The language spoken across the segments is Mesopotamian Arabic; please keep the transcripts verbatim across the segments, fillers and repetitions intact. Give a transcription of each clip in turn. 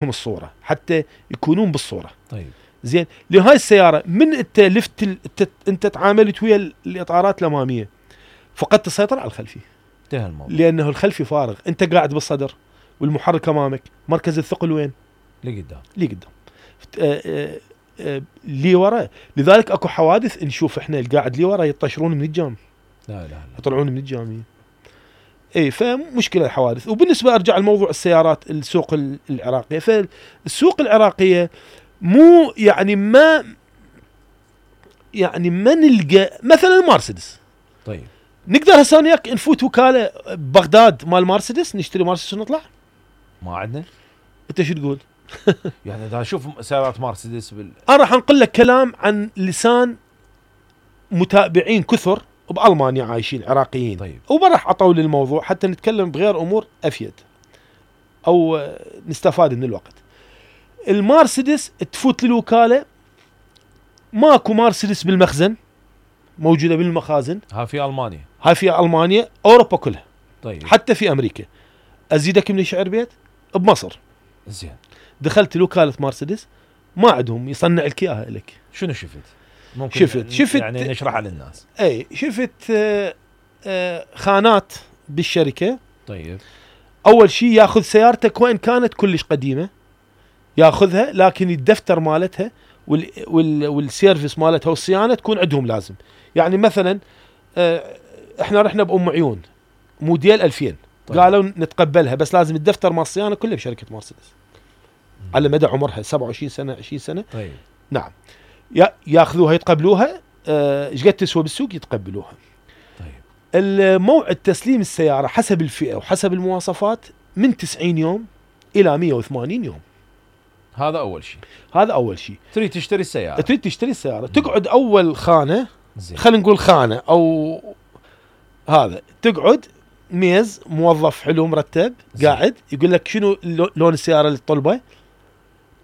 الصورة حتى يكونون بالصورة. طيب زين، لهاي السيارة من انت لفت ال... انت تعاملت ويا الاطارات الامامية فقدت السيطرة على الخلفي، انتهى الموضوع، لانه الخلفي فارغ، انت قاعد بالصدر والمحرك امامك، مركز الثقل وين؟ اللي قدام، اللي قدام اللي ورا. لذلك اكو حوادث نشوف احنا القاعد اللي ورا يطشرون من الجام، لا لا لا يطلعون من الجامية. اي فمشكلة الحوادث. وبالنسبة ارجع لموضوع السيارات، السوق العراقية، فالسوق العراقية مو يعني ما يعني ما نلقى مثلا المرسيدس. طيب نقدر هسه وياك نفوت وكالة بغداد مال مرسيدس نشتري مرسيدس ونطلع؟ ما عندنا. انت شو تقول؟ يعني اذا اشوف سيارات مرسيدس بال... انا راح انقل لك كلام عن لسان متابعين كثر بألمانيا عايشين عراقيين. طيب. وما راح اطول للموضوع حتى نتكلم بغير امور افيد او نستفاد من الوقت. المرسيدس تفوت للوكالة ماكو مرسيدس بالمخزن، موجودة بالمخازن. ها في المانيا، هاي في المانيا، اوروبا كلها. طيب حتى في امريكا. ازيدك من شعر بيت بمصر. زين، دخلت لوكالة مرسيدس ما عندهم يصنع لك اياها لك. شنو شفت؟ ممكن شفت شفت يعني نشرحها للناس. اي شفت آه آه خانات بالشركة. طيب اول شيء ياخذ سيارتك وين كانت كلش قديمة ياخذها، لكن الدفتر مالتها وال وال والسيرفيس مالتها والصيانة تكون عندهم لازم. يعني مثلا آه احنا رحنا بأم عيون موديل ألفين. طيب. قالوا نتقبلها بس لازم الدفتر مال الصيانة كله بشركة مرسيدس على مدى عمرها سبعة وعشرين سنة عشرين سنة. طيب نعم، ياخذوها يتقبلوها. ايش قد تسوى بالسوق يتقبلوها. طيب الموعد تسليم السيارة حسب الفئة وحسب المواصفات من تسعين يوم إلى مئة وثمانين يوم. هذا أول شيء. هذا أول شيء. تريد تشتري السيارة، تريد تشتري السيارة، تقعد أول خانة، خلينا نقول خانة أو هذا، تقعد ميز موظف حلو مرتب زي. قاعد يقول لك شنو لون السيارة اللي تطلبه،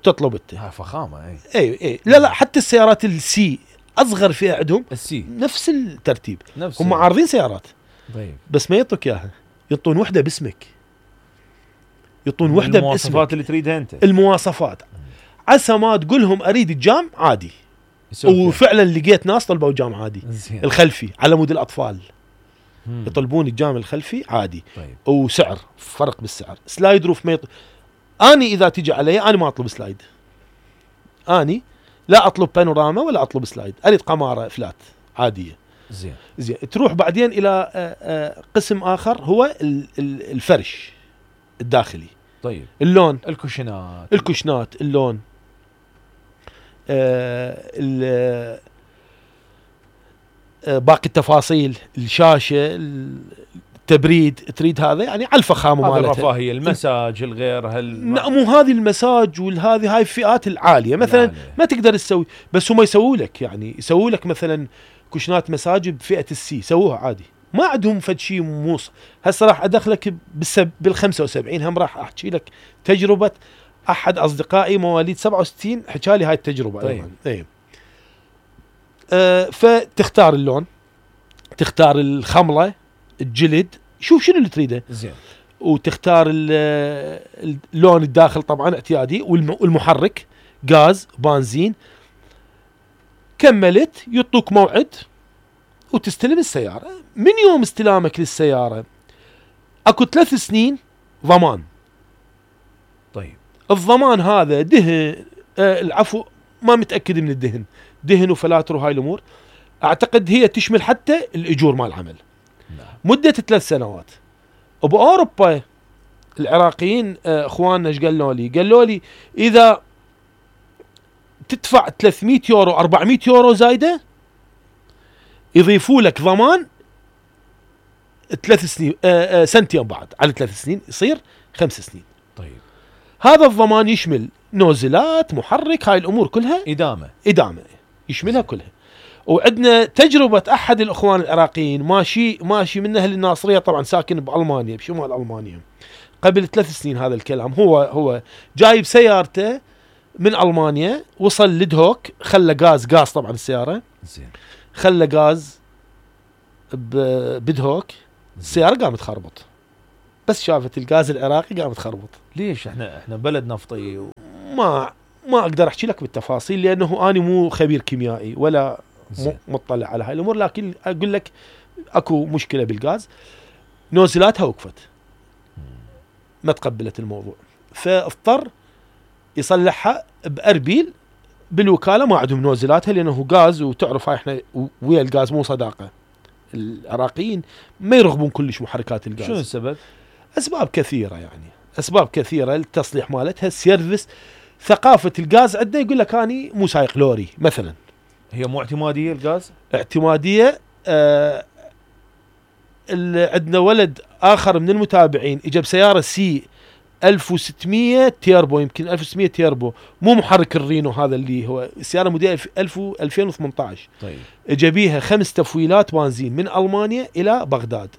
تطلب انت. ها فخامة. اي اي اي لا لا، حتى السيارات السي اصغر فئة عندهم السي نفس الترتيب، نفس هم عارضين سيارات. طيب بس ما يعطوك اياها، يعطون وحده باسمك، يعطون وحده باسمك، المواصفات اللي تريدها انت. المواصفات عسى ما تقولهم اريد الجام عادي. وفعلا لقيت ناس طلبوا جام عادي زين. الخلفي على مود الاطفال. مم. يطلبون الجام الخلفي عادي. طيب. وسعر فرق بالسعر. سلايد روف ما يط... اني اذا تجي علي انا ما اطلب سلايد، اني لا اطلب بانوراما ولا اطلب سلايد، اريد قمارة فلات عادية. زين زين. تروح بعدين الى قسم اخر هو الفرش الداخلي. طيب اللون، الكوشنات الكوشنات اللون، آه باقي التفاصيل، الشاشة، التبريد، تريد هذا يعني على الفخامة مالتها، الرفاهية، المساج، الغير هال مو هذه المساج والهذه هاي الفئات العالية مثلا العالية. ما تقدر تسوي، بس هم يسووا لك، يعني يسووا لك مثلا كوشنات مساج بفئة السي، سووها عادي، ما عندهم فد شيء موص. هسه راح ادخلك بالسب بالخمسة وسبعين، هم راح احكي لك تجربة احد اصدقائي مواليد سبعة وستين حكى لي هاي التجربة. طيب. ايوه. آه فتختار اللون، تختار الخملة، الجلد، شوف شنو اللي تريده. زين. وتختار اللون الداخل طبعا اعتيادي، والمحرك غاز بنزين. كملت يعطوك موعد وتستلم السيارة. من يوم استلامك للسيارة اكو ثلاث سنين ضمان. طيب الضمان هذا دهن، آه العفو ما متأكد من الدهن، دهن وفلاتر وهاي الامور، اعتقد هي تشمل حتى الاجور مال العمل. نعم. مدة ثلاث سنوات. وبأوروبا العراقيين اخواننا ايش قالوا لي؟ قالوا لي اذا تدفع ثلاثمئة يورو أربعمئة يورو زايدة يضيفوا لك ضمان ثلاث سنين، آآ آآ سنتين بعد على ثلاث سنين يصير خمس سنين. طيب هذا الضمان يشمل نوزلات، محرك، هاي الامور كلها، ادامة ادامة يشملها كلها. وعندنا تجربة أحد الأخوان العراقيين ماشي ماشي من أهل الناصرية، طبعا ساكن بألمانيا بشمال ألمانيا، قبل ثلاث سنين هذا الكلام. هو هو جايب سيارته من ألمانيا، وصل لدهوك، خلى غاز غاز طبعا السيارة، زين، خلى غاز بدهوك، السيارة قامت خربط، بس شافت الغاز العراقي قامت خربط. ليش احنا احنا بلد نفطي و... ما ما اقدر احكي لك بالتفاصيل لانه انا مو خبير كيميائي ولا م- زين. مطلع على هاي الامور، لكن اقول لك اكو مشكله بالغاز، نوزلاتها وقفت ما تقبلت الموضوع، فاضطر يصلحها باربيل بالوكاله، ما عندهم نوزلاتها لانه غاز، وتعرف هاي احنا ويا الغاز مو صداقه، العراقيين ما يرغبون كلش محركات الغاز. شنو السبب؟ اسباب كثيره يعني، اسباب كثيره، التصليح مالتها، السيرفس، ثقافه الغاز عندنا يقول لك اني مو سايق لوري مثلا. هي مو اعتماديه الغاز؟ اعتماديه. آه عندنا ولد اخر من المتابعين اجى بسياره سي ألف وستمية تيربو، يمكن ألف وستمية تيربو، مو محرك الرينو هذا اللي هو السياره موديل ألفين وثمانية عشر. طيب. اجى بيها خمس تفويلات بنزين من المانيا الى بغداد،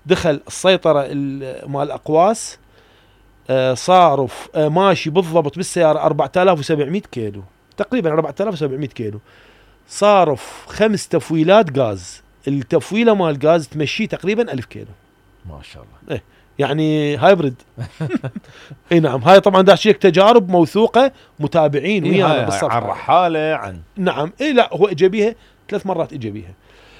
دخل السيطره مال الاقواس، آه صارف آه ماشي بالضبط بالسياره أربعة آلاف وسبعمية كيلو، تقريبا أربعة آلاف وسبعمية كيلو، صارف خمس تفويلات غاز، التفويله مال غاز تمشي تقريبا ألف كيلو. ما شاء الله. إيه يعني هايبرد. اي نعم، هاي طبعا داشيك تجارب موثوقه، متابعين إيه ويانا بالصفحه عن رحاله عن نعم. اي لا هو اجى بيها ثلاث مرات، اجى بيها.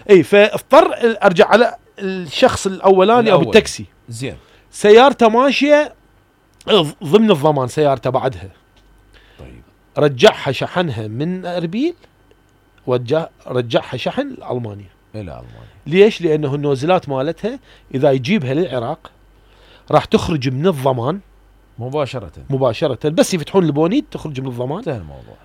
اي فاضطر ارجع على الشخص الاولاني او التاكسي. زين. سيارته ماشيه ضمن الضمان، سيارته بعدها. طيب. رجعها شحنها من اربيل، وجه رجعها شحن لالمانيا. الى المانيا. ليش؟ لانه النوزلات مالتها اذا يجيبها للعراق راح تخرج من الضمان مباشره مباشره، بس يفتحون البونيت تخرج من الضمان، انتهى الموضوع.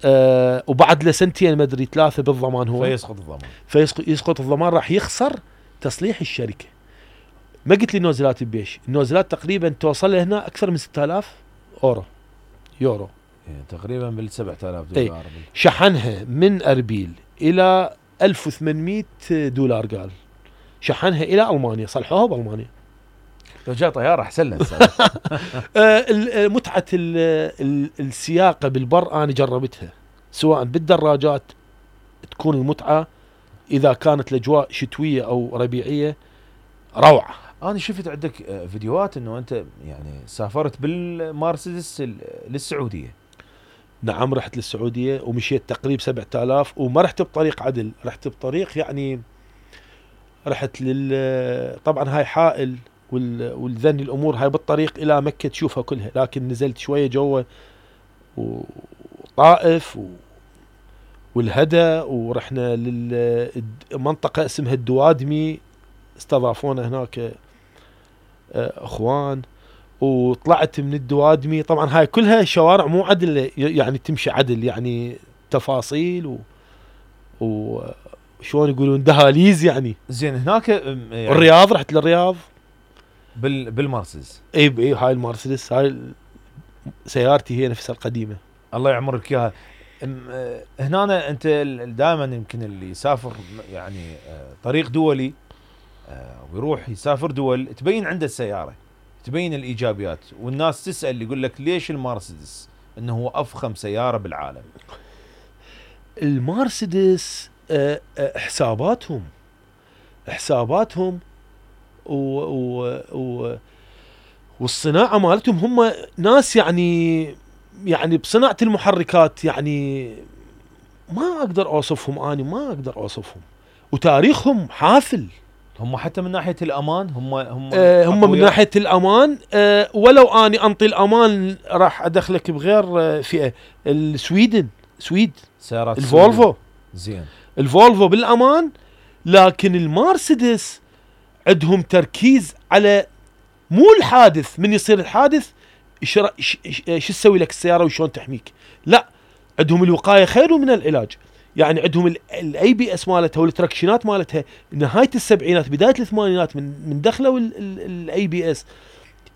آه وبعد له سنتين ما ادري ثلاثه بالضمان هو، فيسقط الضمان. فيسقط الضمان، راح يخسر تصليح الشركه. ما قلت لي نوزلات بيش، النوزلات تقريبا توصل هنا اكثر من ستة آلاف اورو يورو، يعني تقريبا بال سبعة آلاف اي دولار. شحنها من اربيل الى ألف وثمانمية دولار، قال شحنها الى المانيا، صلحوها بالمانيا. لو جاء طياره احسن له. آه متعه السياقه بالبر انا جربتها، سواء بالدراجات تكون المتعه اذا كانت الاجواء شتويه او ربيعيه روعه. انا شفت عندك فيديوهات انه انت يعني سافرت بالمرسيدس للسعوديه. نعم رحت للسعوديه ومشيت تقريبا سبعة آلاف، وما رحت بطريق عدل، رحت بطريق يعني رحت لل طبعا هاي حائل وال... والذن الامور هاي بالطريق الى مكه تشوفها كلها، لكن نزلت شويه جوا وطائف و... والهدى، ورحنا للمنطقه اسمها الدوادمي، استضافونا هناك اخوان، وطلعت من الدوادمي. طبعا هاي كلها شوارع مو عدل، يعني تمشي عدل، يعني تفاصيل و, و... شلون يقولون دهاليز يعني. زين هناك يعني الرياض، رحت للرياض بال بالمرسيدس. اي اي هاي المرسيدس، هاي سيارتي هي نفسها القديمه. الله يعمرك اياها. هنا انت دائما يمكن اللي يسافر يعني طريق دولي ويروح يسافر دول تبين عنده السياره، تبين الايجابيات، والناس تسال يقول لك ليش المرسيدس انه هو افخم سياره بالعالم؟ المرسيدس أه أه حساباتهم حساباتهم و و و والصناعه مالتهم، هم ناس يعني يعني بصناعه المحركات يعني ما اقدر اوصفهم، اني ما اقدر اوصفهم، وتاريخهم حافل. هم حتى من ناحيه الامان هم هم آه هم من ناحيه الامان، آه ولو اني انطي الامان راح ادخلك بغير آه فئه. السويدن، سويد سيارات الفولفو، زين الفولفو بالامان، لكن المرسيدس عندهم تركيز على مو الحادث، من يصير الحادث شو تسوي لك السياره وشون تحميك، لا عندهم الوقايه خير من العلاج. يعني عندهم الاي بي اس مالتها والتراكشنات مالتها نهايه السبعينات بدايه الثمانينات من من دخلوا الاي بي اس،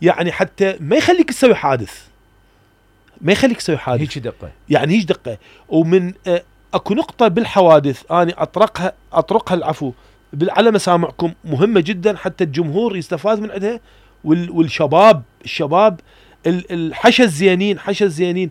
يعني حتى ما يخليك تسوي حادث، ما يخليك تسوي حادث، هيك دقه، يعني هيك دقه. ومن آه اكو نقطه بالحوادث انا اطرقها اطرقها العفو على مسامعكم مهمه جدا حتى الجمهور يستفاد من عندها، والشباب الشباب الحشا الزينين، حشا الزينين